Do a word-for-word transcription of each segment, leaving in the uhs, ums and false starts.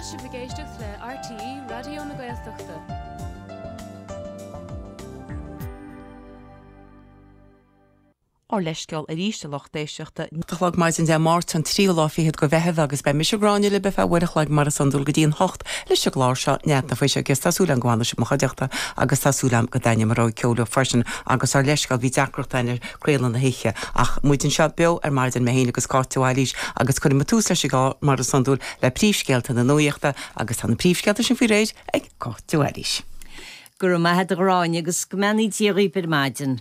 sibh ag éisteacht le RTÉ Raidió na Gaeltachta. Ár leithscéal arís a lucht éisteachta. A chlog maidin Dé Máirt an tríú lá fichead de Mheitheamh agus beidh mise Gráinne libh ar feadh uair a chloig mar is iondúil go dtí an hocht leis an gclár seo Nead na Fuiseoige agus tá súil agam go bhfanfaidh sibh mo chuideachta agus tá súil agam go dtaitneoidh mo rogha ceoil libh freisin agus ár leithscéal bhí deacracht againn ar craoladh na hoíche ach muid anseo beo ar maidin mé féin agus Cáit de Bhailís agus cuirfidh muid tús leis an gclár mar is iondúil le príomhscéalta na nuachta agus tá na príomhscéalta sin faoi réir ag Cáit de Bhailís. Go raibh maith agat a Ghráinne agus go mbeannaí Dia dhaoibh ar maidin.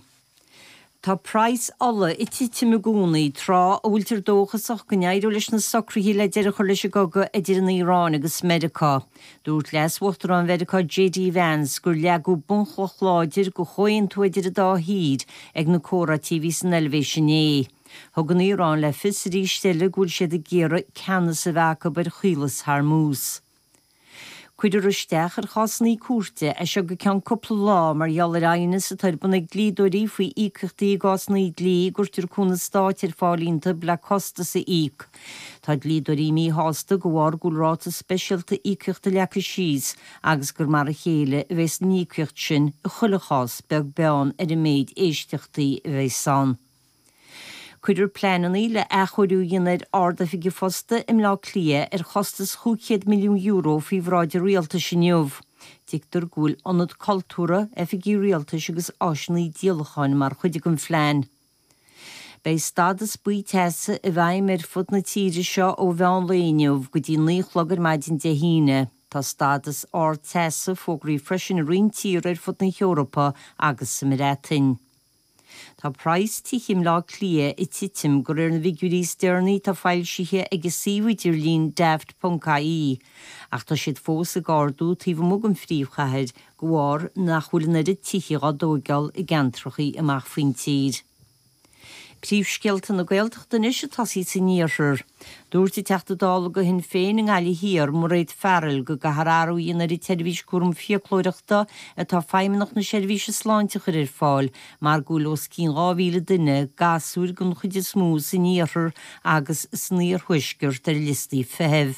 Tá praghas ola ag titim i gcónaí tráth a bhfuiltear dóchasach go n-éireoidh leis na socruithe le deireadh a chur leis an gcogadh idir an Iaráin agus Meiriceá. Dúirt Leas-Uachtarán Mheiriceá JD Vance gur leagadh bunchloch láidir do chomhaontú idir an dá thír ag na comhráití a bhí san Eilvéis inné. Thug an Iaráin le fios arís eile go bhfuil siad ag iarraidh ceannas a bheith acu ar Chaolas Hormuz. Cuirfear isteach ar chásanna cúirte as seo go ceann cúpla lá mar gheall ar aighneas atá ar bun ag dlíodóirí faoi íocaíochtaí i gcásanna dlí a gcuirtear cúnamh stáit ar fáil iontu le costas a íoc. Tá dlíodóirí míshásta de bharr go bhfuil ráta speisialta íocaíochta leagtha síos agus gur mar a chéile a bheas an íocaíocht sin i chuile chás beag beann ar an méid éisteachtaí a bheas ann. Cuirfear pleananna le athchóiriú a dhéanamh ar Ard-Oifig an Phosta i mBleá Cliath ar chostas chúig chéad milliún euro faoi bhráid an rialtais inniu. Tuigtear go bhfuil ionad cultúrtha, oifigí rialtais agus áiseanna díolacháin mar chuid den phlean. Beidh stádas buí teasa i bhfeidhm ar fud na tíre seo ó mheán lae inniu go dtí naoi a chlog ar maidin Dé hAoine. Tá stádas ard teasa fógraithe freisin i roinnt tíortha ar fud na hEorpa agus sa mBreatain. Tá praghas tithe i mBleá Cliath ag titim de réir na bhfigiúirí is deireanaí atá foilsithe ag an suíomh idirlín daft ponc ie, ach tá siad fós ag ardú taobh amuigh den phríomhchathair de bharr nach bhfuil an oiread tithe á dtóigeáil i gceantracha amach faoin tír. Príomhscéalta na Gaeltachta anois ag tosaí san iarthar. Dúirt an Teachta Dála do Shinn Féin i nGaillimh Thiar, Mairéad Farrell, go gcaithfear athrú a dhéanamh ar an tseirbhís cúram fiaclóireachta atá Feidhmeannacht na Seirbhíse Sláinte a chur ar fáil mar go bhfuil os cionn dhá mhíle duine, gasúir den chuid is mó, san iarthar agus san iarthuaisceart ar liostaí feithimh.